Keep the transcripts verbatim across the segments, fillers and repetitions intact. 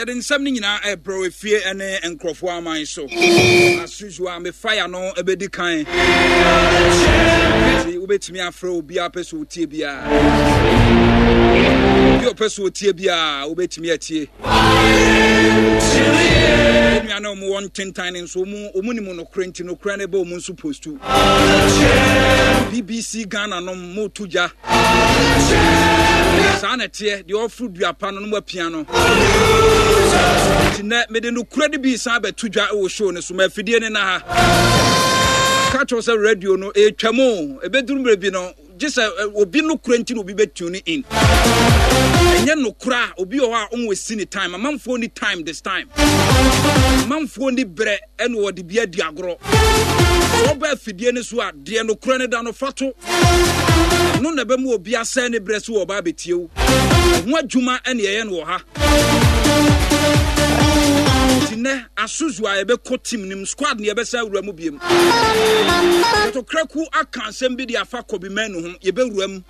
Yɛde nsɛm no nyinaa ɛbrɛ wɔ efie ne nkurɔfoɔ aman so. As usual, me fire no ɛbɛdi kan. Nti wobɛtumi afrɛ obiara pɛ sɛ otie biara. Obi a ɔpɛ sɛ otie biara wobɛtumi atie. Nua na ɔmo wɔ ntentan no nso ɔmo ɔmo nim nokorɛ, nti nokorɛ no ɛbɛ ɔmo nso post. B B C Ghana nom mo to gya. Saa na ɛteɛ, deɛ ɔforo dua pa no no mu apia no. Nti nnɛ mede nokorɛ no bi san bɛto dwa wɔ show no so ma afidie no na ha ka kyerɛw sɛ radio no ɛtwa mu, ɛbɛduru mmerɛ bi no gye sɛ obi nokorɛ nti na obi bɛtune in. Ɛnyɛ nokorɛ a, obi wɔ hɔ a ɔnwɔ ne time. Amanfoɔ ni time this time, amanfoɔ ni berɛ ɛna wɔde bi adi agorɔ. Sɛ ɔba afidie no so a, deɛ nokorɛ no da no fa to no na ɛbɛma obi asɛe ne berɛ so wɔ ɔba abɛtie wo ho adwuma. Ɛne ɛyɛ no wɔ ha. Nti nnɛ asozo a yɛbɛkɔ team nim squad ne yɛbɛsɛ awura mu biem. Kotokraku aka asɛm bi de afa Kobbie Mainoo ho. Yɛbɛwura mu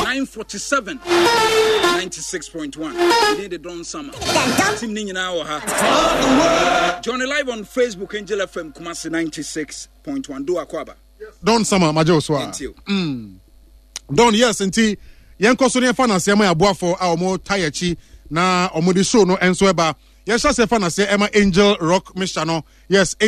nine forty-seven, ninety-six point one. Yɛdin de Don Sama. Team ne nyinaa wɔ ha. Johnny live on Facebook, Angel F M Kumasi ninety-six point one. Do akɔ aba. Don Sama, magye wo so a. mm. Don, yes, nti yɛnkɔ so ne yɛfa naseɛ ma yɛaboafoɔ a ɔmo ta yɛkyi na ɔmo de show no nso ɛba. Yɛhyɛ sɛ fa naseɛ ɛma Angel Rock Mixture no, yes.